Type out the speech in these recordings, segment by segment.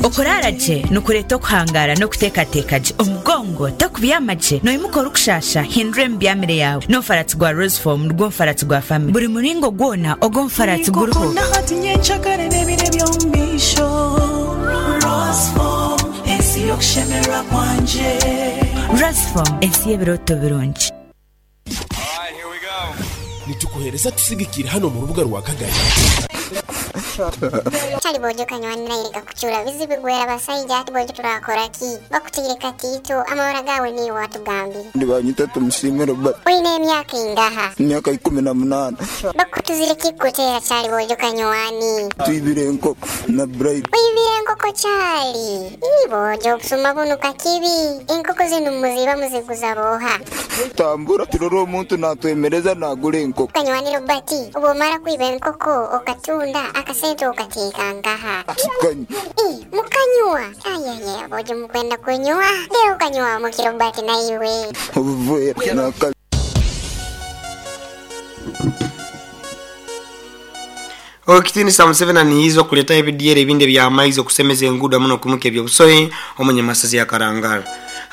Okuraara gye nikureeta okuhangaara n'okuteekateeka gye. Omugongo tokubyama gye, noimuka orikushaasha, hindura emibyamire yaawe. N'omufaratsi gwa Roseform nigwo mufaratsi gwa famire. Buri muringo gwona ogw'omufaratsi guriho. Roseform, ensi y'ebirooto birungi. Nitukuhereza tusigikiire hanu omu rubuga rwa Kagadi. Kyali bwojo kanywani naire gakucura bizibu gwera basaija ati bwojo turakora ki bakutaire katiito amabara gawe niiwe watugambire. Nibanyeta Tumusiime Robert. Oine emyaka ingaha? Emyaka 18. Bakutuzire ki kukutera kyali bwojo kanywani? Twibire enkoko na Bright. Oibire enkoko kyali? Ii bwojo obusuma bunu kakibi. Enkoko zinu muziiba muziguza booha? Tambura turore omuntu natwemereza nagura enkoko. Kanywani Robert, obwomara kwiba enkoko okatunda, akasente okateeka nkaha? Tukanywa. Ii, mukanywa? Ayeye, aboojo mukwenda kunywa? Lero okanywa muki Robert naiwe? Obuveera naka. Owekitiinisa Museveni anihiize okuletaho ebidyeri ebindi ebyamaizi okusemeza enguudo hamu n'okwimuka eby'obusohi omu nyamasaza ya Karangara.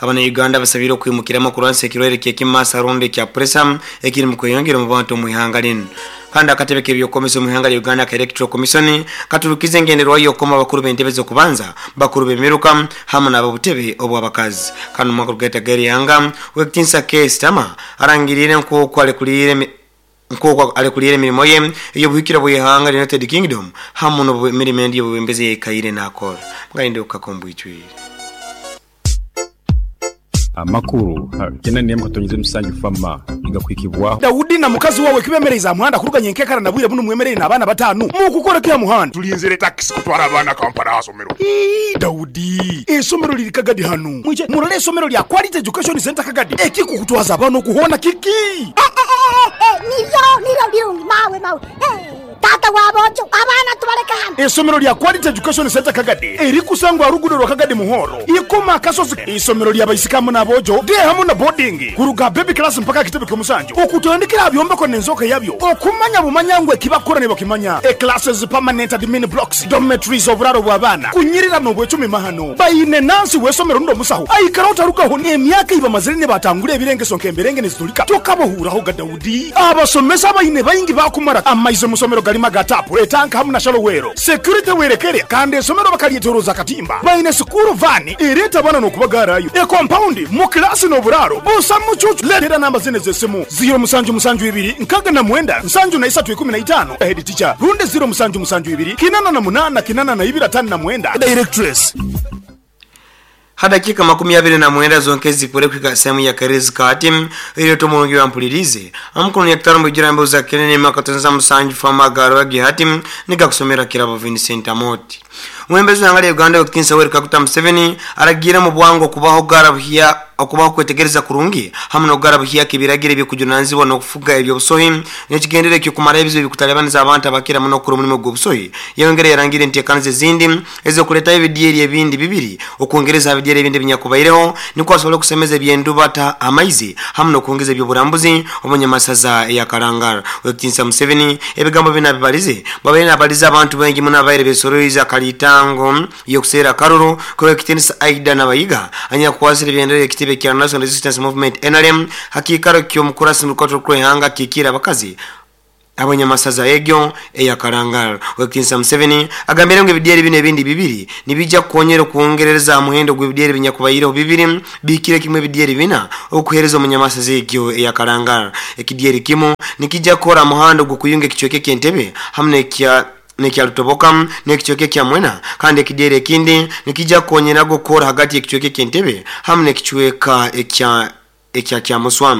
Abana Uganda basabiire okwimukiramu okurwanisa ekirwaire ky'ekimasa rundi ekya puresa ekiri mu kweyongera omu bantu omu ihanga linu. Kandi akatebe k'ebyokukomesa omu ihanga lya Uganda aka Electoral Commission katurukize engenderwaho y'okukoma abakuru b'entebe z'okubanza, bakuru b'emiruka hamu n'ab'obutebe obw'abakazi. Kandi omu mwaka ogugaita g'eri ihanga, Owekitiinisa Keir Starmer arangiriire nk'oku alekuliire Nk'oku alekuliire emirimo ye ey'obuhikirwa bw'ihanga lya United Kingdom hamu n'emirimo endi ey'obwebembezi ey'aikaire n'akora. Mugayende okukaka omu bwijwire. Amakuru 8.7 Fama nigakuhikibwaho. Daudi na mukazi wawe kibemereize aha muhanda kuruga nyenkekara na bwire bunu mwemereire n'abaana bataanu. Mukukora ki aha muhanda? Tulinzire takisi kutwara abaana Kampala aha somero. Ii, Daudi, eisomero liri Kagadi hanu. Mwije murole eisomero lya Quality Education Centre Kagadi. Ekikukutwaza abaana oku hoona kiki? Niryo, niryo birungi mawe, mawe. Taata wa boojo, abaana tubaleke hanu. Eisomero lya Quality Education Centre Kagadi erikusangwa aha ruguudo rwa Kagadi Muhoro, Ikoma Akasozi. Eisomero lya baisiki hamu n'aboojo, day hamu na boarding, kuruga aha baby class mpaka aha kitebe ky'omusanju. Okutandikira aha byombeko n'enzooka yabyo, okumanya bumanya ngu eki bakukora nibakimanya. E Classes, permanent admin blocks, dormitories, oburaaro bw'abaana, kunyirira n'obwecumi mahano. Baine nansi w'eisomero rundi omusaho aikaraho tarugaho. Emyaka ei bamazire nibatangura ebirengeso nk'emberenge nizitulika, tokabahuuraho ga Daudi. Abasomesa abaine baingi baakumara amaizi omu somero garimu aga taapu, etanka hamu na shallow well. Security werekere kandi eisomero bakaryetoroza akatimba. Baine sikuuru vaani ereeta abaana n'okubagaarayo. Ekompaundi, mu kilaasi n'oburaaro busa mucuucu. Leetera namba zinu ez'esimu, ziiro musanju musanju ibiri 69 73 15, Head teacher, rundi ziiro musanju musanju ibiri 88 82 59, Directress. Ha dakiika 29 zonka ezipwire kuhika sehemu ya Kerezi kati, eireta omurungi wa mpulirize. Amukono nyakitara omubijura embeho za Kenene emyaka 97 Fama Garwa Gihati nigakusomera Kirabo Vincent Amoti. Omwebembezi w'ihanga lya Uganda Ow'ekitiinisa Yoweri Kaguta Museveni aragiire omu bwangu okubaho gara buhya okubaho kwetegereza kurungi hamu n'okugara buhyaka ebiragiro eby'okujunanizibwa n'okufuga eby'obusohi n'ekigendererwa eky'okumaraho ebizibu ebikutalibaniza abantu abakira muno okukora omulimo gw'obusohi. Yayongera yarangira enteekaniza ezindi ez'okuleetaho ebidyeri ebindi bibiri okwongereza ha bidyeri ebindi ebinyakubaireho nukwo asobole kusemeza eby'endubata amaizi hamu n'okwongeza eby'oburambuzi omu nyamasaza eya Karangal. Ow'ekitiinisa Museveni ebigambo binu abibalize bwabaire nabaliza abantu baingi muno abaire besoroize akalitango y'okuseera akaruru k'Owekitiinisa Aidah Nabayiga anyakukwasire ebendera y'ekitebe kya National Resistance Movement, nrm, ha kiikaro ky'omukurasi mu rukato rw'ihanga akikiire abakazi ab'enyamasaza egyo eya Karangal. Owekitiinisa Museveni agambire ngu ebidyeri binu ebindi bibiri nibiija kukonyera okwongerereza ha muhendo gw'ebidyeri ebinyakubaireho bibiri bihikire kimu ebidyeri bina okuheereza omu nyamasaza egyo eya Karangal. Ekidyeri kimu nikija kukora ha muhanda ogw'okuyunga ekicweka eky'Entebbe hamu n'ekya n'ekya Lutoboka n'ekicweka ekya Mwena kandi ekidyeri ekindi nikija kukonyeraga okukora hagati y'ekicweka eky'Entebbe hamu n'ekicweka ekya ekya Kyamuswa.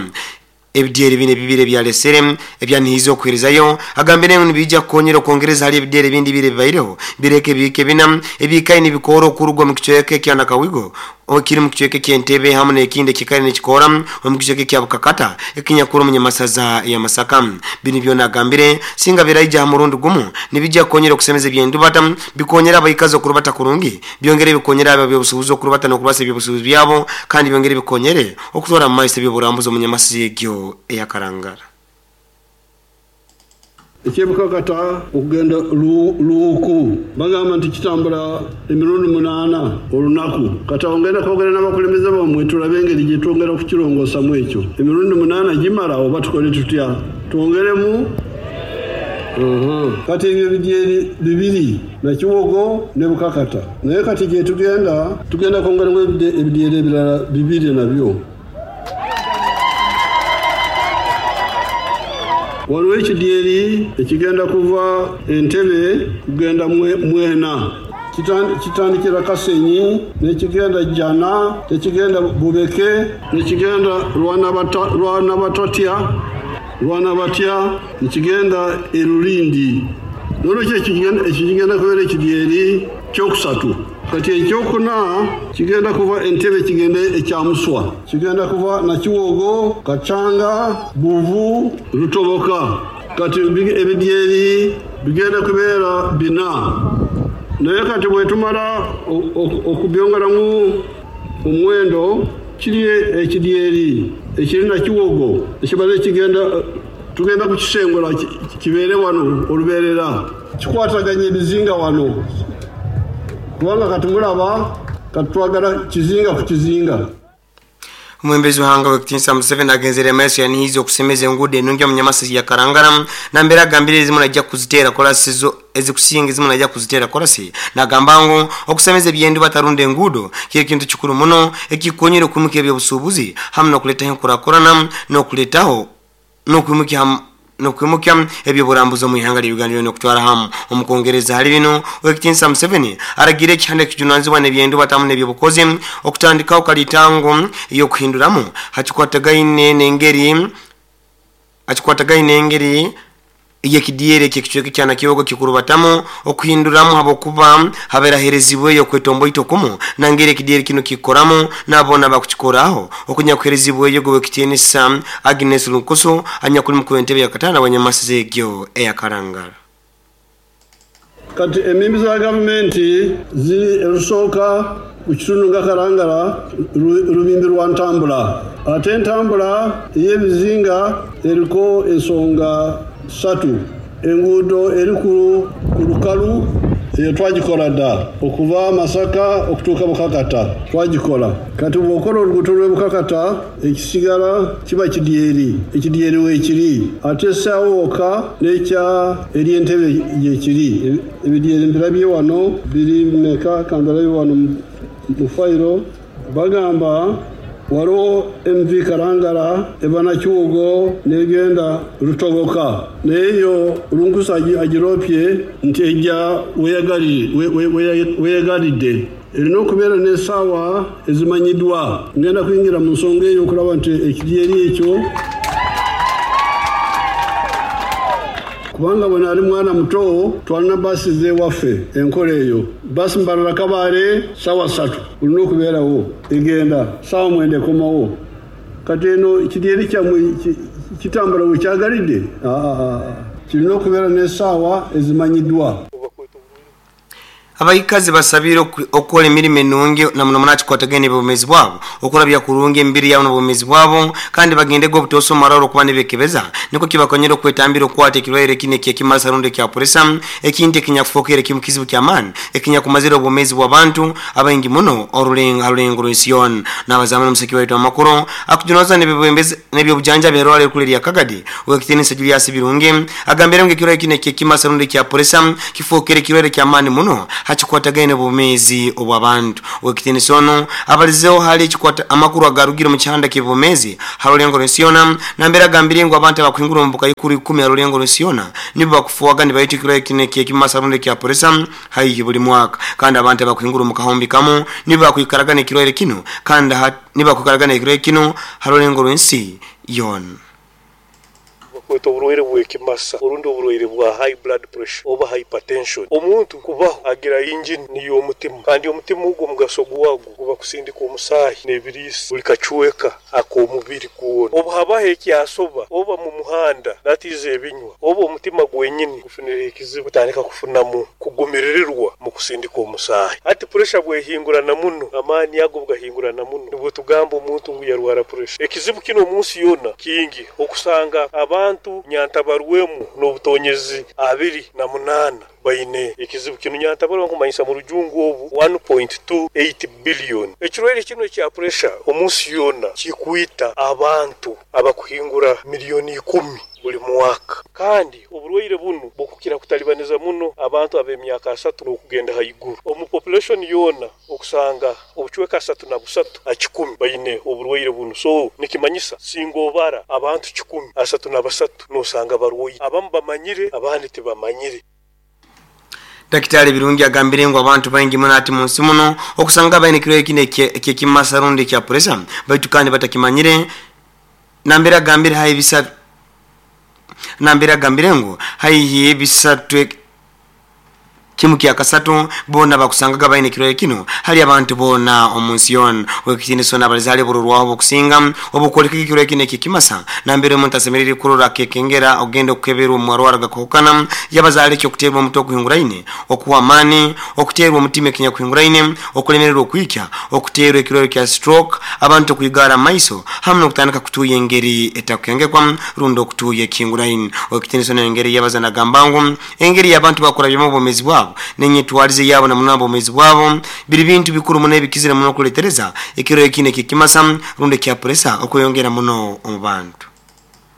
Ebidyeri binu ebibiri ebyalesere ebyanihiize okuheerezayo agambire ngu nibiija kukonyera okwongereza hali ebidyeri ebindi bibiri ebibaireho bireke ebihika ebina ebiikaire nibikoora okuruga omu kicweka ekya Nakawigo ekiri omu kicweka eky'Entebbe hamu n'ekindi ekiikaire nikikoora omu kicweka ekya Bukakata ekinyakuri omu nyamasaza ya Masaka. Binu byona agambire singa biraija ha murundi gumu nibija kukonyera okusemeza eby'endubata bikonyere abaikazi okurubata kurungi byongere bikonyere abo ab'obusubuzi okurubata n'okurwasa eby'obusubuzi byabo kandi byongere bikonyere okutwara mu maiso eby'oburambuzi omu nyamasaza egyo eya Karangara. Ekyebukakata okugenda Luuku bagamba nti kitambula emirundi 8 olunaku. Kati awo ngenda kwogera n'abakulembeze bammwe tulabe engeri gye twongera okukirongoosamu ekyo. Emirundi 8 gimala oba tukole tutya? Twongeremu? Kati ebyo bidyeri 2 Nakiwogo ne Bukakata. Naye kati gye tugenda, tugenda kwongeramu ebidyeri ebirala 2 nabyo. Waliwo ekidyeri ekigenda kuva Entebbe kugenda Mwena. Kitandikira Kasenyi, nekigenda Jana, nekigenda Bubeke, nekigenda Rwanabatya, nekigenda Erulindi. Nolwekyo ekyo kigenda kubeera ekidyeri kyokusatu. Kati ekyokuna kigenda kuva Entebbe kigende ekyamuswa. Kigenda kuva Nakiwogo, Kachanga, Buvu, Rutoboka. Kati ebidyeri bigenda kubeera 4. Naye kati bwe tumala okubyongeramu omuwendo, kiri ekidyeri ekiri Nakiwogo ekibadde kigenda tugenda kukisengula kibeere wano olubeerera. Kikwataganya ebizinga wano. Kubanga kati mulaba kati twagala kizinga ku kizinga. Omwembezi w'ihanga w'ekitiinisa Museveni agenzere amaiso yanihiza okusemeza enguudo enungi omu Nyamasisi ya Karangara nambere agambire ezimu najja kuziteera korasi zo ezikusinga ezimu najja kuziteera korasi. Nagamba ngu okusemeza ebyendu batarunda enguudo kiri kintu kikuru muno ekikonyera okwimuka ebyobusuubuzi hamu n'okuleetaho enkurakurana n'okuleetaho n'okwimuka ebyoburambuzi omu ihanga lya Uganda lyona okutwara hamu. Omukongereza hali bino owekitiinisa Museveni aragira ekihanda ekijunanizibwa n'ebyendu batamu n'ebyobukozi okutandikaho kalitango ey'okuhinduramu hakikwatagaine n'engeri eyekidyeri ekicweka kya Nakiwogo kikurubatamu okuhinduramu habwokuba haberaherezibweyo okwetomboita okumu nangeri ekidyeri kino kikoramu nabona bakukikoraho okunyakuherezibweyo gw'ekitiinisa Agnes Lunkusu anyakuli mukuru w'entebe ya katana wa Nyamasisi egyo eya Karangara. Kati emimbi za gavumenti ziri erusooka ku kitundu nga Karangara lubimbi lwa ntambula. Ate entambula ey'ebizinga eriko ensonga 3. Enguudo eri ku lukalu eyo twagikola dda okuva Masaka okutuuka Bukakata twagikola. Kati bw'okola oluguudo lw'e Bukakata ekisigala kiba kidyeri, ekidyeri weekiri. Ate essaawa wokka n'ekya eri Entebbe gyekiri. Ebidyeri mbirabye wano biri mmeka kambirabye wano mu fayiro. Bagamba waliwo MV Karangara eva Nakiwogo n'egenda Rutoboka. Naye yo Lunkusu agiroopye nti ejja weyagalidde. Erina okubeera n'essaawa ezimanyiddwa. Ngenda kuyingira mu nsonga eyo okulaba nti ekidyeri ekyo kubanga bwe nali mwana muto twalina baasi z'ewaffe enkola eyo. Baasi Mbarara Kabaale ssaawa 3 olina okubeerawo egenda ssaawa 9 ekomawo. Kati eno ekidyeri kyammwe kitambula we kyagalidde? Kirina okubeera n'essaawa ezimanyiddwa. Abaikazi basabire okukola emirimu enungi namuno munakikwatagana n'obwomeezi bwabo okurabya kurungi emibiri yabo n'obwomeezi bwabo kandi bagendege obutosa omumararo okuba nibekebeza niko kibakonyera okwetambira okukwata ekirwaire kino ekyekimasa rundi ekya puresa ekintu ekinyakufookere kimu kizibu ky'amaani ekinyakumazire obwomeezi bw'abantu abaingi muno arulengo rw'ensi yoona. N'abazamu n'omuseki waitu amakuru akujunoza n'ebyobujanjabi erwala erikuru erya Kagadi owekitiinisa Julius Birungi agambire ngu ekirwaire kino ekyekimasa rundi ekya puresa kifookere ekirwaire ky'amaani muno hakikwatagaine obwomeezi obw'abantu. Owekitiinisa ono abalizeho hali ekikwata amakuru agarugire omu kihanda ky'obwomeezi harulengo rw'ensi yoona nambere agambire ngu abantu abakuhingura omu bukaikuru 10 harulengo rw'ensi yoona nibo bakufuwaga nibaita ekirwaire kino ekyekimasa rundi ekya puresa haihi buli mwaka kandi abantu abakuhingura omu kahumbi kamu nibo bakwikaraga n'ekirwaire kino kandi nibo bakwikaraga n'ekirwaire kino harulengo rw'ensi yoona. Bakweta oburwaire bw'ekimasa orundi oburwaire bwa high blood pressure oba hypertension. Omuntu kubaho agira injini niyo omutima kandi omutima ogwo omugaso gwagwo guba kusindika omusaahi n'ebiriisa buli kacweka ak'omubiri gwona. Obu habaho ekyasoba oba mu muhanda natiiza ebinywa oba omutima gwenyini gufunire ekizibu gutandika kufunamu kugumiririrwa mu kusindika omusaahi. Hati puresha bwehingurana muno, amaani ago bugahingurana muno, nibwo tugamba omuntu ngu yarwara puresha. Ekizibu kinu omu nsi yoona kingi okusanga abantu Abantu nyantabarwemu n'obutonyezi 28 baine ekizibu kinu. Nyantabarwa nkumanyisa mu rujungu obu 1.28 billion. Ekirwaire kinu ekya pressure omunsi yoona kikwita abantu abakuhingura miliyoni 10 buli mwaka. Kandi oburwaire bunu bukukira kutalibaniza muno abantu ab'emyaka 30 n'okugenda haiguru. Omu population yoona okusanga obucweka 33 ha 100 baine oburwaire bunu. So nikimanyisa singa obara abantu 100, 33 nosanga barwaire. Abamu bamanyire, abandi tibamanyire. Daktari Birungi agambire ngu abantu baingi muno ati munsi muno okusanga baine ekirwaire kinu eky'ekimasa rundi ekya pressure, baitu kandi batakimanyire. Nambere agambire haihi bisatu, nambere agambire ngu haihi bisatu kimu kya kasatu boona bakusangaga baine ekirwaire kinu hali abantu boona omunsi yoona. Owekitiinisa n'abaliza hali oburorwaho obukusinga obukwoleka ekirwaire kinu eky'ekimasa, nambere omuntu asemerire kurora akekengera ogenda okukeberwa omu marwaro gakahukana. Yabaza hali ekyokuteerwa omuti okuhinguraine, okuhwa amaani, okuteerwa omutima ekinyakuhinguraine, okulemererwa okwikya, okuteerwa ekirwaire kya stroke, abantu okwigara amaiso hamu n'okutandika kutuuya engeri etakukengekwa rundi okutuuya ekihinguraine. Owekitiinisa n'engeri yabaza nagamba ngu engeri y'abantu bakurabyemu obwomeezi bwabo n'enyetwarize yabo na muno obwomeezi bwabo biri bintu bikuru muno ebikizire muno okuletereza ekirwaire kinu eky'ekimasa rundi ekya pressure okweyongera muno omu bantu.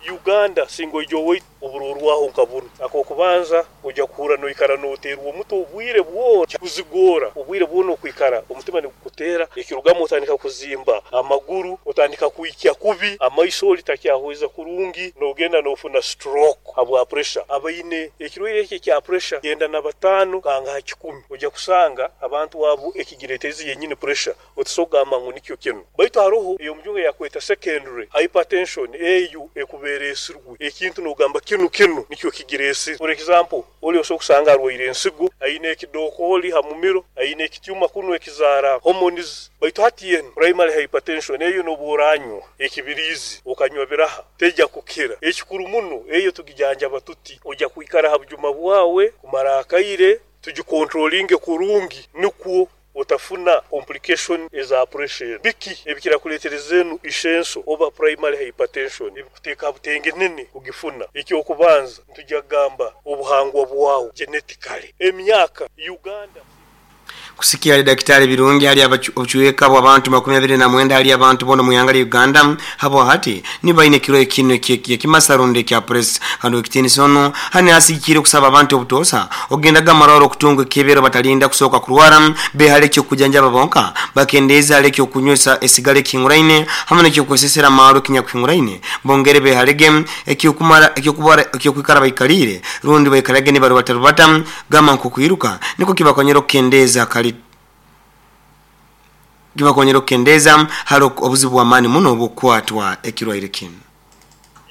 Uganda singa oija owaitu oburorwaho nka bunu. Ak'okubanza oija kuhurra noikara noteerwa omuti obwire bwona, kuzigora obwire bwona okwikara omutima nigukuteera, ekirugamu otandika kuzimba amaguru, otandika kwikya kubi, amaiso oli takyahweza kurungi, nogenda nofuna stroke habwa pressure. Abaine ekirwaire eki ekya pressure 95 kanga ha 100 oija kusanga abantu abo ekigireeterize yenyini pressure. Otasobora kugamba ngu nikyo kinu. Baitu haroho ey'omujungu eyakweta secondary hypertension, eyo ekuba ereesirwe ekintu nogamba kinu kinu nikyo kigireesire. For example, oli osobola kusanga arwaire ensigo, aine ekidokooli ha mumiro, aine ekityuma kunu ekizaara hormones. Baitu hati enu primary hypertension eyo nobu oranywa ekibiriizi okanywa biraha teija kukira. Ekikuru muno eyo tugijanjaba tuti, oija kwikara ha bujuma bwawe kumara akaire, tugikontrolinge kurungi nukwo otafuna complication eza pressure enu. Biki ebikira kuletereza enu ishenso oba primary hypertension ebikuteeka ha butenge nene kugifuna? Ekyokubanza nitujja kugamba obuhangwa bwawe, genetically, emyaka, Uganda. Kusikia hali Daktari Birungi hali obucweka bw'abantu 29 hali abantu boona omu ihanga lya Uganda habwa hati nibaine ekirwaire kinu eky'ekimasa rundi ekya pressure. Kandi owekitiinisa onu hanu asigikire okusaba abantu obutoosa okugendaga amarwaro okutunga ekebero batalinda kusooka kurwara, behale ekyokujanjaba bonka, bakendeeze hali ekyokunywesa esigara ekihinguraine hamu n'ekyokwesesera amaarwa ekinyakuhinguraine, bongere behalege ekyokumara ekyokwikara baikaliire rundi baikarage nibarubatarubata gamba nk'okwiruka nikwo kibakonyera okukendeeza kali kibakonyera okukendeeza hali obuzibu bw'amaani muno obw'okukwatwa ekirwaire kinu.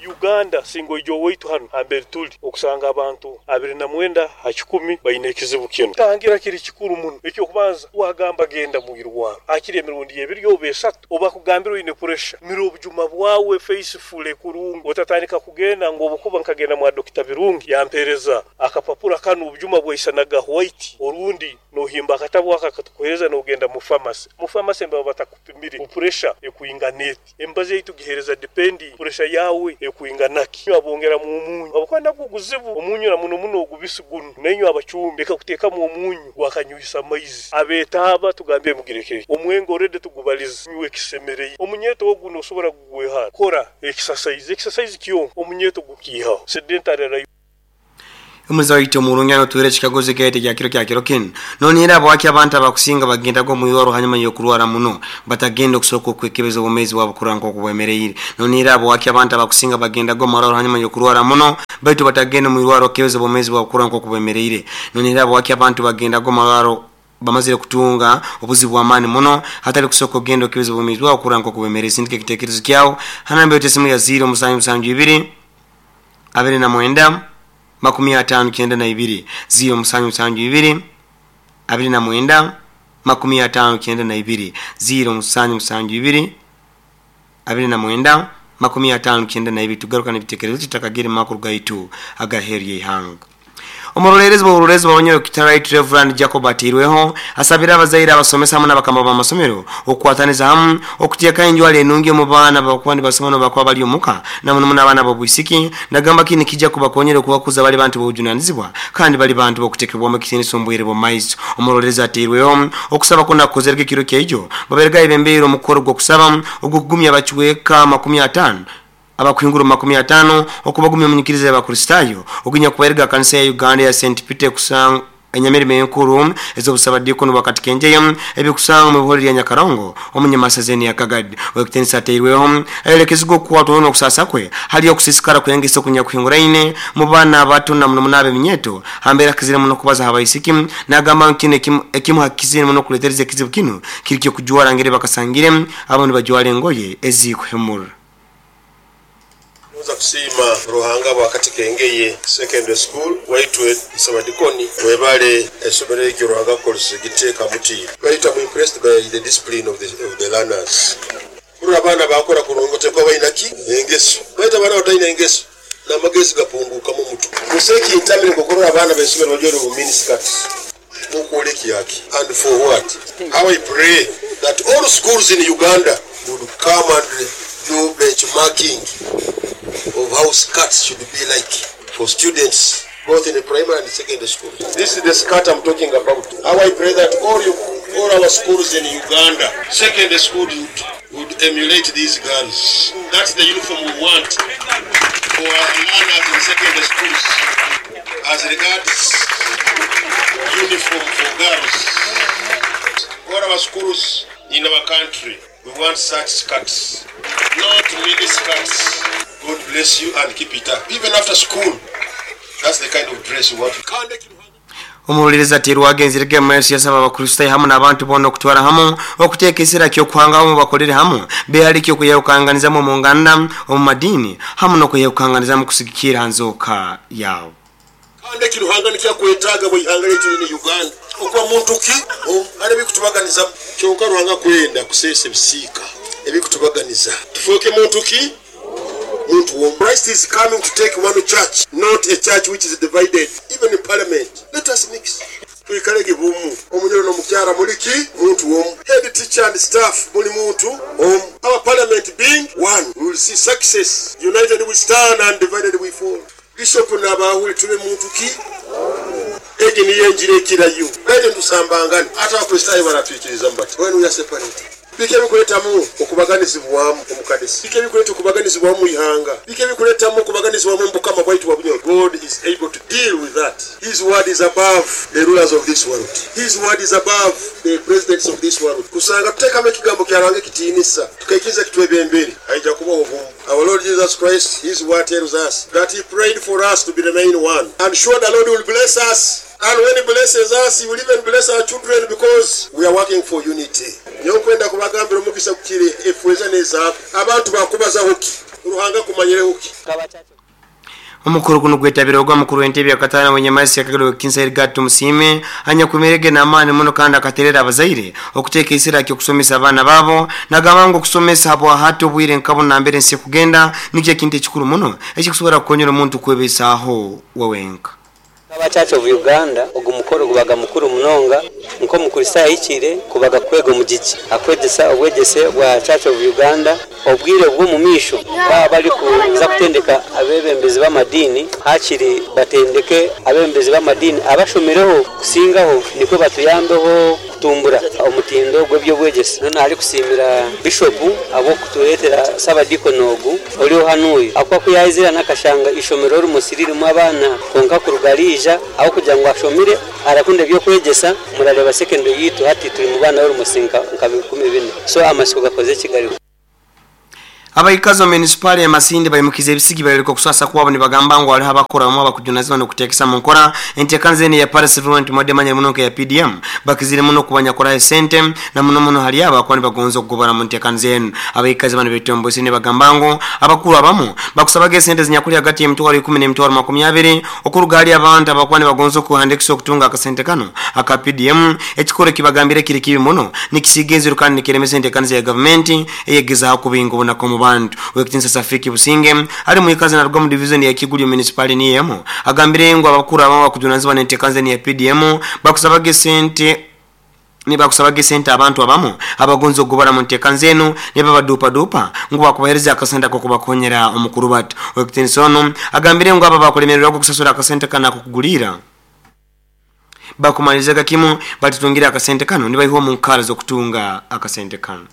Uganda singa oija owaitu hanu hamberi tuli okusanga abantu 29 ha 100 baine ekizibu kinu. Tangira kiri kikuru muno. Ekyokubanza wagamba genda mwirwaro hakiri emirundi ebiri oba esatu oba akugambire oine pressure, mira obujuma bwawe faithfully kurungi otatandika kugenda ngu obukuba nkagenda mwa Dokita Birungi yampereza akapapura kanu obujuma bwaisanaga white orundi nohimba akatabu ako akatukuhereza nogenda mu pharmacy. Mu pharmacy nibaba batakupimire ngu pressure ekwingana eti. Emibazi ei tugiheereza depending pressure yaawe ekwingana ki. Inywe abongeramu omunyu habwokuba nagwo guzibu omunyu na muno muno ogubisi gunu. Nainywe abacumbi leka kuteekamu omunyu gwakanyuhisa amaizi. Abetaaba tugambire mugirekere. Omwenge already tugubalize nywa ekisemereire. Omunyeeto ogu nosobora kugwehara. Kora ekisasaizi. Ekisasaizi kyonka omunyeeto gukiihaho. Sedentary life. Omuza waitu omurungi anotuhera ekikaguzo ekyahita ekya kiro kya kiro kinu. Nonihira habwaki abantu abakusinga bagendaga omu irwaro hanyuma y'okurwara muno batagenda okusooka okwekebeza obwomeezi bwabo kurora nk'oku bwemereire? Nonihira habwaki abantu abakusinga bagendaga omu marwaro hanyuma y'okurwara muno baitu batagenda omu irwaro okukebeza obwomeezi bwabo kurora nk'oku bwemereire? Nonihira habwaki abantu bagendaga omu marwaro bamazire kutunga obuzibu bw'amaani muno hatali kusooka okugenda okukebeza obwomeezi bwabo kurora nk'oku bwemereire? Sindika ekitekerezo kyawe ha namba yaitu esimu ya 0 7 7 2 29 59 0 7 7 2 29 59 0 7 7 2 29 59. Tugaruka n'ebitekerezo tutakagire mu makuru gaitu agaheeru y'ihanga. Omuroleerezi bw'oburoleerezi bwa Bunyoro Right Reverend Jacob Ateirweho asabire abazaire, abasomesa hamu n'abakama b'amasomero okukwataniza hamu okuteekaho enjwara enungi omu baana bakuba nibasoma n'obu bakuba bali omuka, na muno muno abaana b'obwisiki. Nagamba kinu nikijja kubakonyera okubakuza bali bantu b'obujunanizibwa kandi bali bantu b'okutekebwamu ekitiinisa omu bwire bw'omu maiso. Omuroleerezi Ateirweho okusaba kunu akukozerege ekiro kyaijo babairege ayebembeire omukoro gw'okusaba ogw'okugumya abacweka 50 abakuhingura omu 50 okubagumya omu nyikiriza y'Abakristaayo ogunyakubairege aha kanisa ya Uganda eya St Peter ekusanga enyamirimo enkuru ez'obusabadiikoni bwa Katikenjeyo ebikusangwa omu ihore lya Nyakarongo omu nyamasazeni ya Kagadi. Ow'ekitiinisa Ateirweho ayolekezibwa okukwatwaho n'okusaasa kwe hali okusiisikara kw'engeso okunyakuhinguraine mu baana abato na muno muno ab'eminyeeto ha mbeera akizire muno kubaza ha baisiki. Nagamba ngu kinu ekimu ha kizire muno okuleetereza ekizibu kinu kiri ky'okujwara ngeri bakasangire abamu nibajwara engoye ezikuhemura. Ngonza kusiima Ruhanga bwa Katikengeye Secondary School waitwe Ssabadikoni webale esomero eryo Ruhanga akukozese giteeka muti. Baitu am impressed by the discipline of the learners. Kurora abaana bakora kurungi otekwa baina ki? Engeso. Baitu abaana abataina engeso namagezi gapungukamu omutwe. Busa ekintamire nkokurora abaana besomero bajwaire obu mini skirts. Mukwolekya ki and for what? How I pray that all schools in Uganda would come and do benchmarking of how skirts should be like for students both in primary and secondary schools. This is the skirt I'm talking about. How I pray that all our schools in Uganda, secondary school would emulate these girls. That's the uniform we want for our learners in secondary schools. As regards uniform for girls, all our schools in our country, we want such skirts, not mini skirts. God bless you and keep it up. Even after school, that's the kind of dress you want. Omuroleerezi Ateirweho agenzerege omu maiso yasaba Abakristaayo hamu n'abantu boona okutwara hamu okuteeka esira ky'okuhanga hamu bakolere hamu behale eky'okweyahukanganizamu omu nganda, omu madiini hamu n'okweyahukanganizamu kusigikirra ha nzooka yaabo. Kandi eki Ruhanga nikyo akwetaaga bwa ihanga lyaitu linu Uganda okuba muntu ki omu hali ebikutubaganizamu. Kyonka Ruhanga akwenda kuseesa ebisiika ebikutubaganiza tufooke muntu ki? Muntu omu. Christ is coming to take one church not a church which is divided even in parliament let us mix twikalege bumu omunyoro nomukyara muli ki? Muntu omu. Head teacher and staff muli muntu omu. Our parliament being one we will see success united we stand and divided we fall. Bishop n'abaahule tube muntu ki? Egi niyo enjiri ekirayo. Baitu nitusambangana. Ati Abakristaayo baratwikirizamu bati when we are separated? Biki ebikuletamu okubaganizibwamu omu kanisa? Biki ebikuleta okubaganizibwamu mu ihanga? Biki ebikuletamu okubaganizibwamu omu bukama bwaitu bwa Bunyoro? God is able to deal with that. His word is above the rulers of this world. His word is above the presidents of this world. Kusanga tutekamu ekigambo kya Ruhanga ekitiinisa, tukaikiriza kitwebembere, haija kubaho obumu. Our Lord Jesus Christ, His word tells us that He prayed for us to be remain one. And sure the Lord will bless us. And when He blesses us, He will even bless our children because we are working for unity. Nyowe nkwenda kubagambira omugisa gukire efeeza n'ezaabu. Abantu bakubazaho ki? Ruhanga akumanyireho ki? Omukoro gunu gwetabirweho ogwa mukuru w'entebe ya kataano ow'enyamaiswa ya Kagadi Ow'ekitiinisa Edgar Tumusiime anyakumerege n'amaani muno kandi akaterera abazaire okuteeka esira ky'okusomesa abaana baabo. Nagamba ngu okusomesa habwahati obwire nka bunu nambere ensi ekugenda nikyo ekintu ekikuru muno ekikusobora kukonyera omuntu kwebesaaho we wenka. Nk'aba Church of Uganda, ogu mukoro gubaga mukuru munonga. Nk'Omukristaayo ahikire kubaga kwega omugigi akwegyesa obwegyese bwa Church of Uganda. Obwire bw'omu maisho baaba barikuza kutendeka abeebembezi b'amadiini, haakiri batendeke abeebembezi b'amadiini abashomireho kusingaho nikwo batuyambeho kutumbura omutindo gw'eby'obwegyese. Noona arikusiimira Bishopu ahabw'okutureetera Saabadiikoni ogu oriho hanuuya ahabw'okuba ku yaizire hanu akashanga eishomero rimosi ririmu abaana kwonka kuruga riija ahabw'okugira ngu ashomire arakunda eby'okwegyesa murareeba secondary yaitu hati turi mu baana b'orumosi nka 4,000 so amatsiko gakoze ki gariho. Abaikazi omu munisipaali ya Masindi baimukize ebisigi bayoleka okuswasa kwabo nibagamba ngu hariho abakuru abamwe abakujunazibwa n'okuteekesa mu nkora enteekaniza enu eya Parish Development Model emanyire muno nka eya PDM bakizire muno kubanyakoraho esente na muno muno hali abo abakuba nibagonza okugobora mu nteekaniza enu. Abaikazi banu betomboisire nibagamba ngu abakuru abamu bakusabaga esente ezinyakuli hagati y'emitwaro ikumi n'emitwaro makumi abiri okuruga hali abantu abakuba nibagonza okuhandiikisa okutunga akasente kanu aka PDM. Ekikorwa ekibagambire kiri kibi muno nikisiiga enziru kandi nikiremesa enteekaniza ya gavumenti eyegezaho kubinga obunaku omu bantu. bantu. Owekitinisa Safiki Businge ali muikazi naruga mu division ya Kigulyo municipality niyemo agambire ngu abakuru abamu bakujunanizibwa n'enteekanza ya PDM bakusabaga esente nibakusabaga esente abantu abamu abagonza okugobora mu nteekanza enu nibabadupadupa ngu bakubahereza akasente ako kubakonyera omukuru batu. Owekitinisa ono agambire ngu aba bakulemererwa okusasura akasente kano akokugulira bakumalizaga kimu batutungira akasente kano nibaiho mu nkara z'okutunga akasente kano.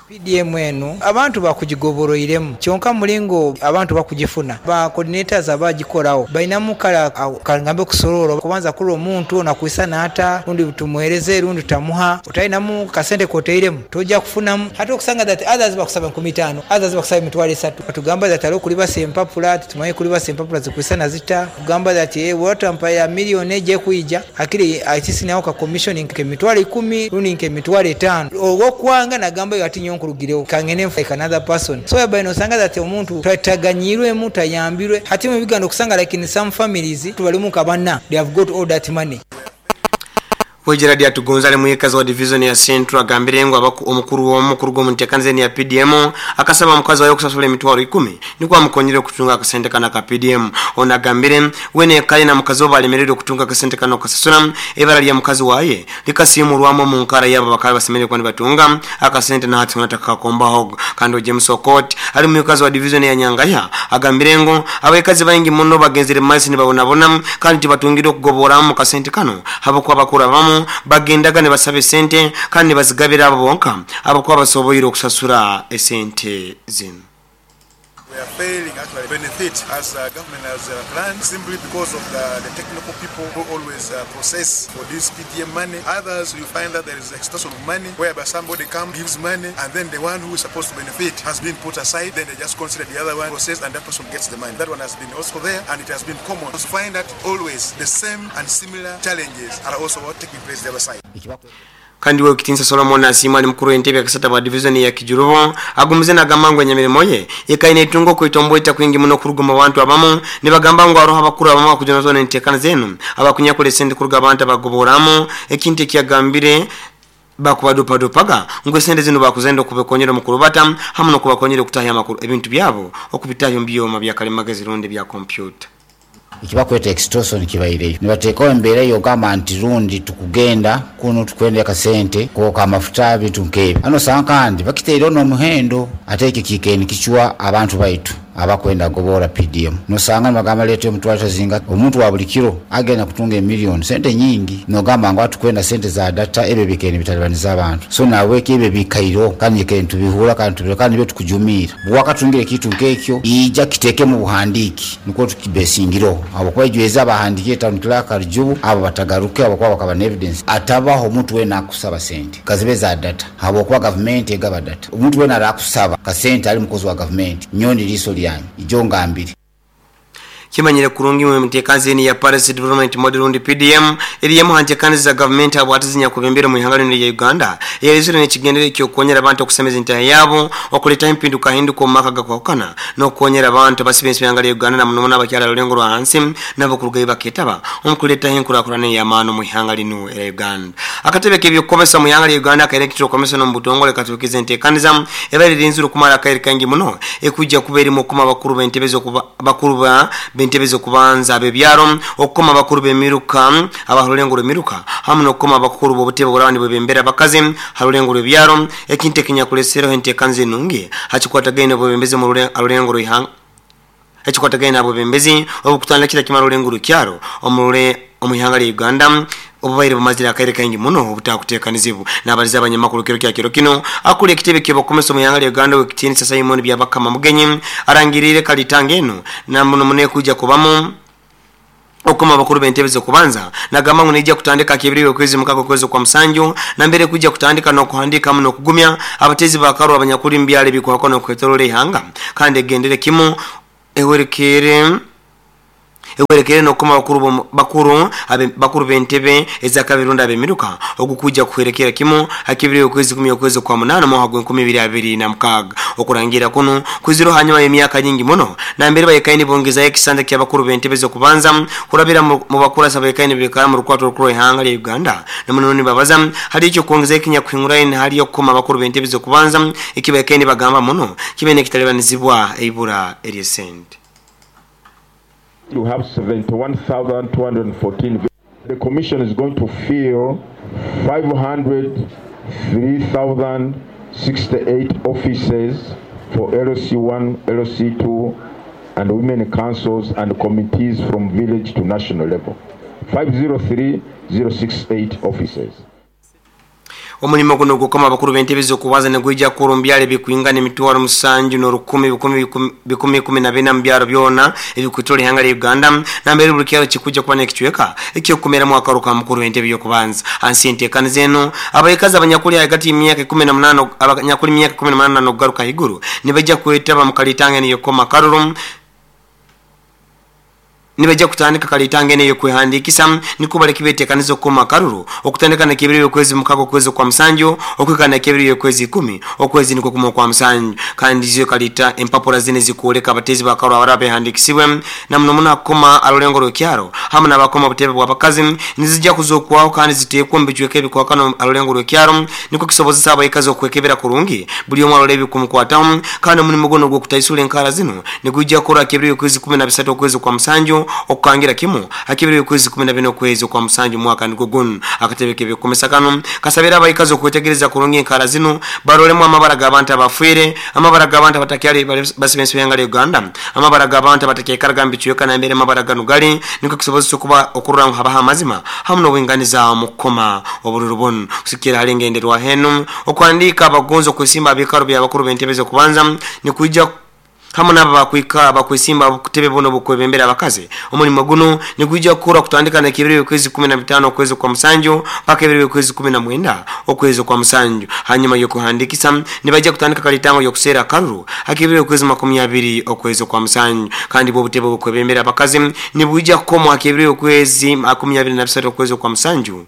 PDM eno abantu bakugigoboroiremu kyonka mulingo abantu bakugifuna ba coordinators abagikorawo bainamu kala kangambe kusorora kubanza kula omuntu nakuisana ata rundi tumuhereze rundi tutamuha utainamu kasente koteiremu tojja kufunamu hata okusanga that others bakusaba 15 others bakusaba emitwalo 3 batugamba that alo kulibasa empapula tumaye kulibasa empapula zikuisana zita kugamba that watampa ya milioni eje kuija akili atisinawo ka commission nke emitwalo 10 rundi nke emitwalo 5 ogwokwanga nagamba ati nyonko kangene like another person so yaba inosanga that omuntu tataganyirwe tayambirwe hati mu bigando kusanga like in some families tubalimu kabana they have got all that money. Gerard Atugonza ali muikazi wa division ya Central agambire ngu omukuru w'omukuru gw'omunteekanza ya PDM akasaba omukazi wayo okusasula emitwalo 10 nikwo amukonyere okutunga akasente kano aka PDM. Ono agambire wene kale na mukazi we balemererwe okutunga akasente kano okasasula ebara lya mukazi waye likasiimurwamu mu nkara yabo bakaba basemerere kuba nibatunga akasente nahati natakakombaho. Kandi James Okot ali muikazi wa division ya Nyangaya agambire ngu abakazi baingi muno bagenzere mu maiso nibabonabona kandi tibatungire okugoboramu kasente kano habwokuba bakura bamu bagendaga ne basaba esente kandi bazigabira abo bonka abakuba basoboire okusasura esente zino. We are failing actually benefit as government has planned simply because of the technical people who always process for this PDM money. Others, you find that there is extortion of money whereby somebody comes, gives money, and then the one who is supposed to benefit has been put aside. Then they just consider the other one process and that person gets the money. That one has been also there and it has been common. So find that always the same and similar challenges are also taking place the other side. Kandi Owekitinisa Solomon Asiima ali mukuru w'entebe yakasata bwa division ya Kijurubo agumize nagamba ngu enyamirimo ye ekaine itungo kuitomboita kwingi muno kuruga mu bantu abamu nibagamba ngu aroho abakuru abamu bakujunazwa n'enteekana zenu abakunyakula esente kuruga abantu abagoboramu ekintu ekyagambire bakubadupadupaga ngu esente zino bakuzenda okubakonyera omukuru bata hamu n'okubakonyera okutahya amakuru ebintu byabo okubitahya omu byoma bya kalimagezi rundi bya kompyuta. Ekibakweta extortion kibaireyo nibateekawo embeera eyo ogamba nti rundi tukugenda kuno tukwenda akasente kwoka amafuta bintu nk'ebyo ano osanga kandi bakiteireho n'omuhendo ate ekyo kiikaire nikicuwa abantu baitu abakwenda gobora PDM nosanga nibagamba leeta omutwalo tazinga omuntu wa buli kiro agenda kutunga emiliyoni sente nyingi nogamba ngu atukwenda sente za data ebyo bikaire nibitalibaniza abantu so nabwekyo ebyo bikaireho kandi ikaire nitubihura kandi tubira kandi nibyo tukujumiira bwakatungire ekintu nk'ekyo ija kiteeke mu buhandiiki nikwo tukibesingireho habwokuba ijweza abahandiikire town clerk Rujubu abo batagaruke habwokuba bakaba na evidence atabaho omuntu weena akusaba sente kazibe za data habwokuba gavumenti egaba data omuntu weena arakusaba kasente ali mukozi wa gavumenti nyondi liiso lyanyu ijo ngambire. Kimanyire kurungi mu mtekanzi ni ya Paris Development Model rundi PDM eriyemu hantekanzi za government abo atizinya kubembera mu ihanga lya Uganda yerizire nekigendere kyokonyera abantu okusemeza entaya yabo okuleta empinduka hinduko mu maka gakwakana n'okukonyera abantu basibe ihanga lya Uganda na muno n'abakyala lulengo lwa hansi nabo kurugayo baketaba omukuleta enkulakulana y'amaano mu ihanga lino era Uganda. Akatebe k'ebyokukomesa mu ihanga lya Uganda ka Electoral Commission mu butongole katukize enteekaniza ebali rinzuru kumala akaire kangi muno ekujja kuba erimu okukoma bakuru b'entebe bakuru ba b'entebe z'okubanza ab'ebyaro okukoma bakuru b'emiruka abahalulengo lw'emiruka hamu n'okukoma abakuru b'obutebe obulabani bwebembera abakazi halulengo lw'ebyaro ekintu ekinyakulesereho enteekanza enungi hakikwatagaine obwebembezi mu alulengo lw'ihanga ekikwatagaine abwebembezi obukutandikira kimala olulengo lw'ekyaro omu ihanga lya Uganda obubaire bumazire akaire kaingi muno obutakuteekanizibu. N'abaliza abanyamakuru kiro kya kiro kino akuli ekitebe ky'obukomesa mu ihanga lya Uganda wekitiinisa Simon Byabakama Mugenyi arangirire kalitanga eno namuno munekujja kubamu okukoma abakuru b'entebe z'okubanza nagamba ngu nijja kutandika kibiri okwezi mukago kwezi kwa musanju na mbere kujja kutandika n'okuhandika muno okugumya abatezi bakaru abanyakuli mbyale bikwako n'okwetolola ihanga kandi egendere kimu ewerekere Ehwerekerire n'okukoma bakuru bakuru bakuru b'entebe ezakabiri rundi ab'emiruka ogukwija kuhwerekera kimu ha kibiri okwezi kumi okwezi kwa munana mwaka gwa 2026. Okurangira kunu kwizirwe hanyuma y'emyaka nyingi muno nambere bayekaini bongezayo ekisanja ky'abakuru b'entebe z'okubanza kurabira mu bakurasa bayekaini bikara mu rukwato rukuru ihanga lya Uganda. Namuno nibabaza hari icyo kwongezayo ekinyakuhinguraine hali okukoma abakuru b'entebe z'okubanza ekibayekaini bagamba muno kibe nekitalibanizibwa eibura ery'esente. You have 71,214. The commission is going to fill 503,068 offices for LC1, LC2, and women councils and committees from village to national level. 503,068 offices. Omulimo guno gukoma abakuru b'entebe z'okubanza nigwija kukora omu byaro ebikwingana emitwaro musanju n'orukumi bikumi ikumi na bina mu byaro byona ebikwetooroora ihanga lya Uganda nambere buli kyaro kikujja kuba n'ekicweka eky'okukomeramu akaru ka mukuru w'entebe y'okubanza. Hansi y'enteekaniza enu abaikazi abanyakuli hagati y'emyaka 18 abanyakuli myaka 18 n'okugaruka haiguru nibaija kwetaba mu kalitanga enu y'okukoma akaruru. Nibaija kutandika kalitanga eno ey'okwehandiikisa nikwo baleke beteekaniza okukoma akaruru okutandika nakebiri y'okwezi mukaga okwezi kwa musanju okwika nakebiri y'okwezi 10 okwezi nikwo kumwe kwa musanju. Kandi zo kalita empapura zine zikuoleka abatezi bakaru abaraba behandiikisibwe na muno muno akoma arulengo rw'ekyaro hamwe n'abakoma obutebe bw'abakazi nizijja kuzokwaho kandi ziteekwa omu bicweka ebikwakano arulengo rw'ekyaro nikwo kisobozesa abaikazi okwekebera kurungi buli omwe arora ebikumukwataho. Kandi omulimu guno ogw'okutaisura enkara zino nigwijja kukora akebiri y'okwezi 13 okwezi kwa musanju okukangira kimu akibiri okwezi 14 okwezi kwa musanju mwaka nigwo guno. Akatebe k'ebyokukomesa kano kasabira abaikazi okwetegereza kurungi enkara zino barolemu amabara g'abantu abafiire, amabara g'abantu abatakyali basibe ensi ya Uganda, amabara g'abantu abatakyekaraga mu bicweka nambere amabara gano gali nikwo kisobozesa okuba okurora ngu habaho amazima hamwe n'obwinganiza mu kukoma obururu buno. Kusikira hali engenderwa henu okuhandiika abagonzi okwesimba abikaro by'abakuru b'entebe z'okubanza nikwija hamwe n'abo bakwika bakwesimba kutebe buno bukwebembera abakazi. Omulimo guno nigwijja kukora kutandika nakebiri okwezi 15 okwezi kwa musanju paka ebiri okwezi 19 okwezi kwa musanju. Hanyuma y'okuhandikisa nibajja kutandika kalitango y'okuseera akaruru akebiri okwezi 20 okwezi kwa musanju. Kandi bwo butebe bukwebembera abakazi nibwijja kukomwa akebiri okwezi 23 okwezi kwa musanju.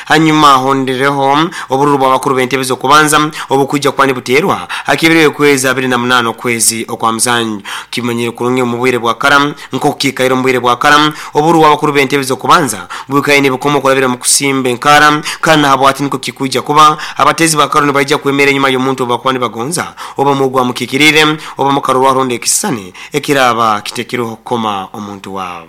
Hanyuma hondereho obururu bw'abakuru b'entebe z'okubanza obukwijja kuba nibuteerwa akebiri okwezi 28 okwezi okwa musanju. Kimanyire kurungi omu bwire bwa kara nk'okukiikaire omu bwire bwa kara obururu bw'abakuru b'entebe z'okubanza bwikaire nibukoma okurabira mu kusimba enkara kandi nahabwati nikwo kikwijja kuba abatezi ba karo nibaija kwemera enyuma y'omuntu obu bakuba nibagonza oba mugwa mukikirire oba mukarorwa aronda ekisisani ekiraba kitekireho kukoma omuntu waabo.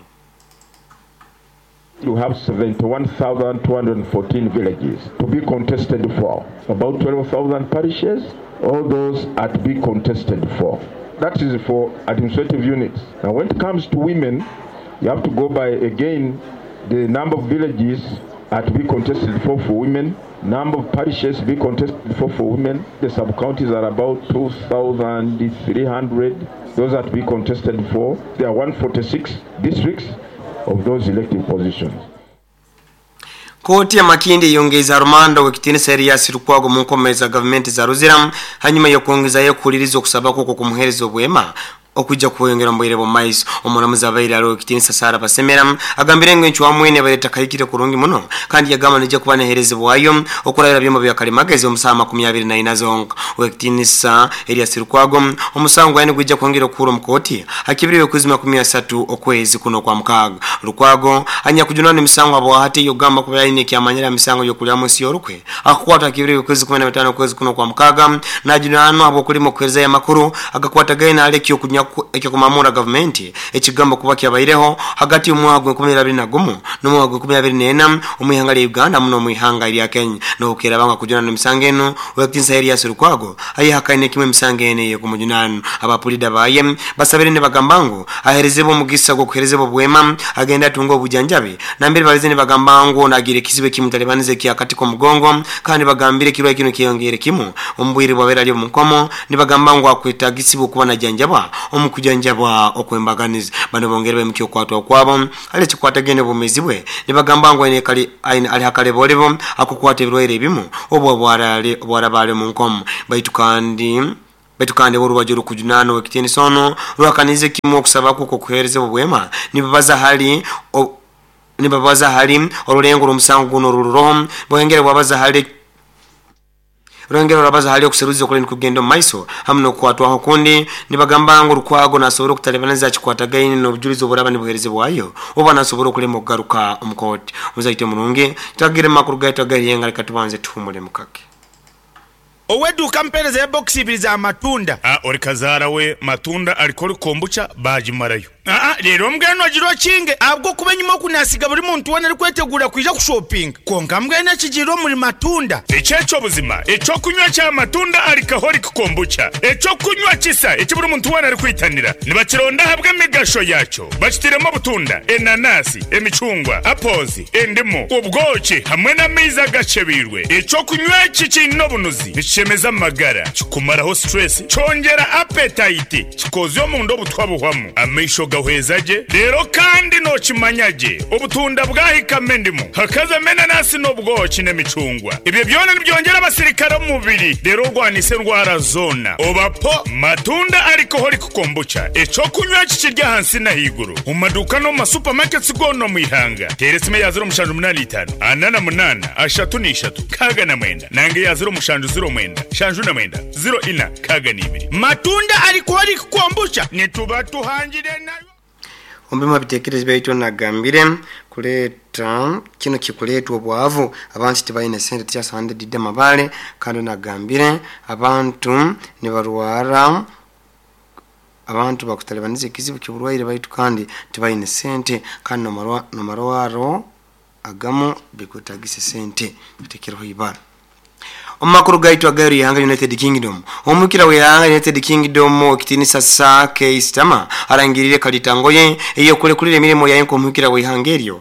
You have 71,214 villages to be contested for, about 12,000 parishes, all those are to be contested for. That is for administrative units. Now when it comes to women, you have to go by again the number of villages are to be contested for women, number of parishes to be contested for women. The sub-counties are about 2,300, those are to be contested for. There are 146 districts of those elective positions. Kooti ya Makindye yongeza rumanda w'ekitiinisa Erias Lukwago mu nkomezi za gavumenti za Ruzira hanyuma y'okwongezayo okuhuliriza okusaba kwe okumuheereza obwema okujja kweyongera mu bwire bw'omumaiso. Omulamuzi abaire aliho ekitiinisa Sarah Basemera agambire ngu encwamu enu ebaire etakahikire kurungi muno kandi yagamba nijja kuba neherezebwayo okurabira byoma bya kalimagezi omu saaha 24 zonka. Owekitiinisa Erias Lukwago omusango gwaine gwijja kwongera okuhura omu kooti hakibiri okwezi 30 okwezi kuno kwa mukaaga. Lukwago anyakujunana emisango abwahati yogamba kuba aine ekyamanyira emisango y'okulyamu ensi y'orukwe akakwatwa hakibiri okwezi 15 okwezi kuno kwa mukaaga najunanwa habw'okulima okuherezayo amakuru agakwatagaine hali ekyokunya ekyokumamura gavumenti ekigambo kuba kyabaireho hagati y'omwaka gwa 2021 n'omwaka gwa 2024 omu ihanga lya Uganda muno omu ihanga lya Kenya. N'obukeera kujunana emisango enu owekitiinisa Erias Lukwago ayehakaine kimwe emisango enu ey'okumujunana. Abapulida baye basabire nibagamba ngu aherezebwe omugisa gw'okuherezebwa obwema agenda atunga obujanjabi nambere balize nibagamba ngu nagira ekizibu ekimutalibaniza ekyakati k'omugongo kandi bagambire ekirwaire kinu kyeyongere kimu omu bwire bwabeera ari omu nkomo nibagamba ngu akwetagisibwa okuba najanjabwa omu kujanjabwa okwembaganiza. Bano bongere bemukyo okwatwa kwabo hali ekikwatagene obwomeezi bwe nibagamba ngu ali hakalebolebo akukwata ebirwaire ebimu obwo bwaraba ali omu nkomo. Baitu kandi Baitu kandi orubaju rukujunana owekitiinisa ono rwakanize kimu okusaba kwe okw'okuheerezebwa obwema nibabaza hali nibabaza hali orulengo rw'omusango guno orururoho bwengere bwabaza hali Rwengero rwabaza hali okuseruza okuli nikugenda omu maiso hamu n'okukwatwaho okundi. Nibagamba ngu Lukwago nasobora okutalibaniza akikwatagaine n'obujulizi oburaba nibuherezebwayo oba nasobora okulema okugaruka omu kooti. Omuzaite omurungi, twagire mu makuru gaitu ag'eihanga leka tubanze tuhumulemu kake. Ow'eduuka ampeereza ebokisi ibiri za matunda. A Ori kazaara we matunda alcoholic kombucha baagimarayo. Aa Reero mbwenu ogira okinge, ahabw'okuba enyima oku naasiga buri muntu weena arikweteguura kwija kushopinga. Kwonka mbwenu ekigiire omuri matunda. Eki eky'obuzima, eky'okunywa kya matunda alcoholic kombucha, eky'okunywa kisa eki buri muntu weena arikwitanira. Nibakironda ahabw'emigasho yaakyo. Bakitairemu obutunda, enanasi, emicungwa, apples, endimu, obwoki hamwe n'amaizi agakyebeirwe. Eky'okunywa eki kiine obunuzi, nikishemeza amagara, kikumaraho stress, kyongyera appetite, Kikozya omunda obutwa buhwamu, amaisho gahweza gye, reero kandi nookimanya gye obutunda bwahikamu endimu, hakazamu enanasi n'obwoki n'emicungwa. Ebyo byona nibyongyera abasirikare omu mubiri reero orwanise endwara zoona. Oba po Matunda Alcoholic Kombucha, eky'okunywa eki kiri ahansi n'ahaiguru omu maduuka n'omu ma supermarkets goona omu ihanga. Teera esimu eya 0785 48 33 69 nanga eya 0709 79 04 62. Matunda Alcoholic Kombucha nituba tuhangire nayo. Omu bimu ha bitekerezo byaitu nagambire kuleta kinu kikuletwa obwavu abantu tibaine sente tikyasande didi amabale kandi nagambire abantu nibarwara abantu bakutalibaniza ekizibu ky'oburwaire baitu kandi tibaine sente kandi n'amarwaro agamu bikwetagisa sente tutekereho ibara. Omu makuru gaitu agaheru y'ihanga United Kingdom, Omwikira w'ihanga United Kingdom ow'ekitiinisa Sir Keir Starmer arangiriire kalitango ye ey'okulekulira emirimo yaye nk'omwikira w'ihanga eryo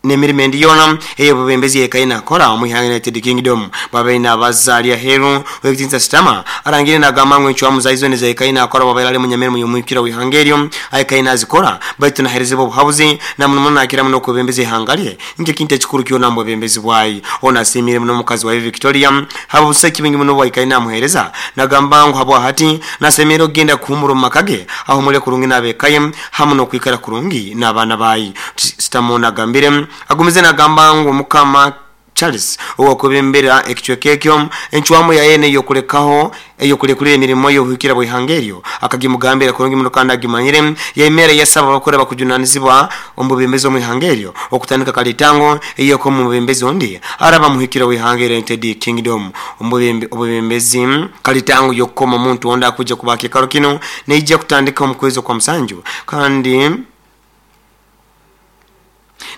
n'emirimo endi yoona ey'obwebembezi eyekaire nakora omu ihanga United Kingdom. Bwabaire nabaza ari aheeru, Ow'ekitiinisa Starmer arangiriire nagamba ngu encwamu zaye zoona ezayekaire nakora bwabaire ari munyamirimo y'omwikira w'ihanga eryo ayekaire nazikora baitu naherezebwa obuhabuzi na muno muno nakira muno okwebembeza ihanga rye nk'ekintu ekikuru kyona omu bwebembezi bwaye. Onu asiimire muno omukazi waye Victoria habw'obusagiki bwingi muno obu aikaire namuheereza. Nagamba ngu habwahati nasemererwa kugenda kuhumura omu maka ge ahumule kurungi n'ab'eka ye hamu n'okwikara kurungi n'abaana baye. Starmer onu agambire agumize nagamba ngu Omukama Charles owakwebembera ekicweka ekyo, encwamu yaye n'eyokulekaho ey'okulekulira emirimo y'obuhikira bw'ihanga eryo akagimugambira kurungi muno kandi agimanyire. Yaimera yasaba abakuru abakujunanizibwa omu bwebembezi omu ihanga eryo okutandika kalitango ey'okoma omwebembezi ondi araba muhikira w'ihanga erya United Kingdom omu obwebembezi. Kalitango y'okukoma omuntu ondi akwija kuba aha kiikaro kinu neija kutandika omu kwezi okwa musanju kandi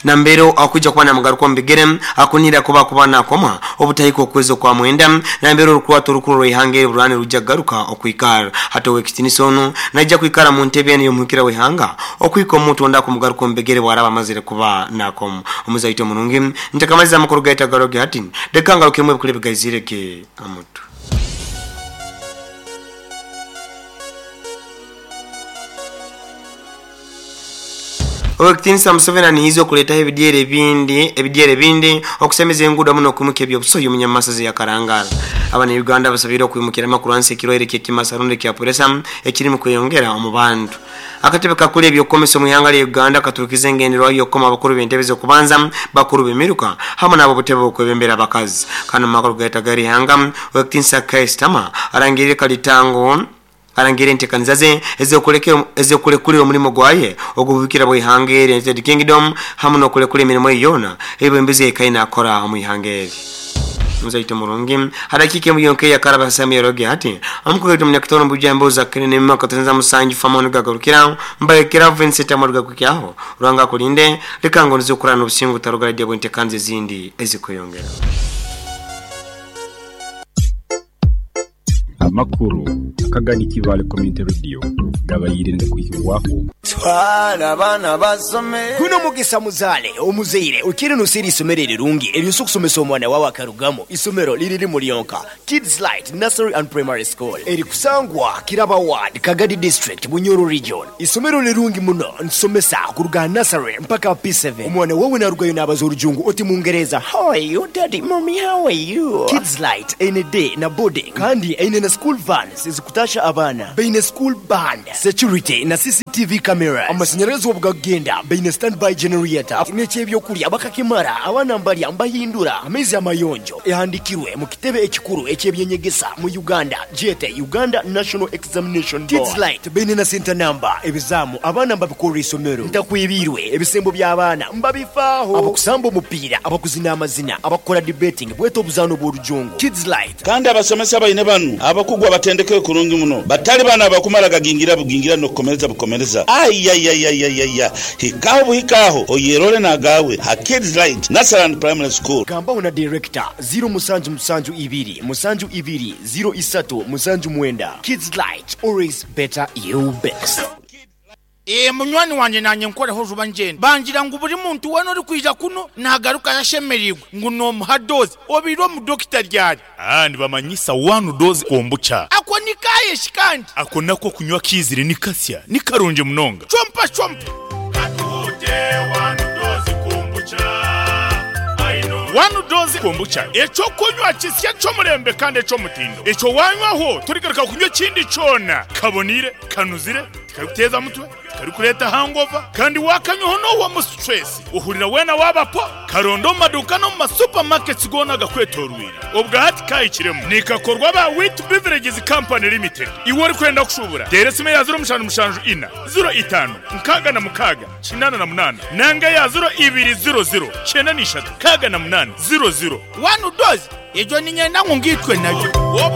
Nambere akwija kuba namugaruka omu bigere, akunihira kuba akuba nakomwa obutahika okwezi okwa mwenda, nambere orukurwato orukuru orw'ihanga eri burani rwija kugaruka okwikara. Hati ow'ekitinisa onu naija kwikara mu ntebe enu y'omuhikira w'ihanga okuhika omuntu ondi akumugaruka omu bigere bwaraba amazire kuba nakomwa. Omuzaito omurungi, ntakamaliza amakuru gaitu agaroge hati, leka ngarukemu ebikuru ebigaizire ge amutwe. Ow'ekitiinisa Museveni anihiize okuleetaho ebidyeri ebindi ebidyeri ebindi okusemeza enguudo hamu n'okwimukya eby'obusohi omu Nyamasaza eya Karangara. Abana-Uganda basabiirwe okwimukiramu okurwanisa ekirwaire ky'ekimasa rundi ekya puresa ekirimu kweyongera omu bantu. Akatebe kakuru eby'okukomesa omu ihanga lya Uganda katurukize engenderwaho y'okukoma abakuru b'entebe z'okubanza, bakuru b'emiruka hamu n'ab'obutebe bw'okwebembera abakazi. Kandi omu makuru gaitu ag'erihanga, Ow'ekitiinisa Keir Starmer arangiriire kalitango Arangire entekaniza ze ez'okulekulira omulimo gwaye ogw'obuhikira bw'ihanga eri United Kingdom hamu n'okulekura emirimo ye yoona ey'obwebembezi ey'ekaire nakora omu ihanga eri. Omuzaito murungi, ha dakiika emu yonka eyakaraba ha Samuel Roge hati, omukuru waitu omunyakitoro omu bujambo Zakire Nemima Katonza Musanju Famon Gagarukira Mbarekera Vincent Amadu Gakwikyaho Ruhanga akulinde, leka ngondeze okurara n'obusinge otaruga radio bw'entekaniza ezindi ezikweyongera. Amakuru akagani Kibaale Community Radio. Gabaire nigakwikibwaho. Twala abaana basome. Guno mugisa muzaale omuzaire oikire noseera isomero erirungi eryosobola okusomesa omwana wawe akarugamu. Isomero liri limu lyonka, Kids Light Nursery and Primary School erikusangwa Kiraba Ward, Kagadi District, Bunyoro Region. Isomero lirungi muno nitusomesa kuruga aha nursery mpaka aha P7. Omwana wawe narugayo nabaza orujungu oti mungereza, How are you daddy, mummy how are you? Kids Light eine day na boarding kandi eine na school vans ezikutasha abaana. Baine school band, security na CCTV cameras. Amashanyarazi obu gakugenda baine standby generator n'eky'ebyokurya bakakimara abaana mbarya mbahindura amaizi amayonjo. Ehandikirwe mu kitebe ekikuru eky'ebyenyegesa mu Uganda gyete Uganda National Examination Board. Kids Light baine na center number. Ebizaamu abaana mbabikorera isomero. Ntakwibiirwe ebisembo by'abaana mbabifaaho. Abakusamba omupiira, abakuzina amazina, abakukora debating bwete obuzaano bw'orujungu. Kids Light. Kandi abasomesa baine banu abakugu abatendekere kurungi muno, batali banu abakumara gagingira bugingira n'okukomereza bukomereza. Aiaiaiaiaia! Hikaho buhikaho oyerole n'agaawe ha Kids Light Nursery and Primary School. Gambaho na Director, ziro musanju musanju ibiri musanju ibiri ziro isatu musanju mwenda. Kids Light, always better you best. Ee, munywani wangye naanye nkoreho juba ngyende. Bangira ngu buri muntu weena orikwija kunu naagarukayo ashemereirwe ngu noomuha doozi. Obaire omu dokita ryari? Aa, nibamanyisa one dose kombucha. Ako ni kaaye shi kandi? Ako nako okunywa kiizire ni kasya, ni karungi munonga. Chompa chompa. Katuhute one dose kombucha. One dose kombucha, eky'okunywa kisya eky'omurembe kandi eky'omutindo. Ekyo waanywaho torigaruka kunywa ekindi kyona. Kaboniire, kanuzire, tikarikuteeza mutwe, tikarikureeta hangover, kandi waakanywaho noohwamu stress, ohurira weena waaba po. Karonde omu maduuka n'omu ma supermarkets goona agakwetooroire. Obwa hati kaahikiremu. Nikakorwa aba Wheat Beverages Company Limited. Iwe orikwenda kushuubura, teera esimu eya ziro mushanju mushanju ina, ziro itaano, nkaaga na mukaaga, 88 nanga eya ziro ibiri ziro ziro, kyenda na ishatu, nkaaga na munaana, ziro ziro. One dose, egyo niinyenda ngu ngaitwe nayo. Obu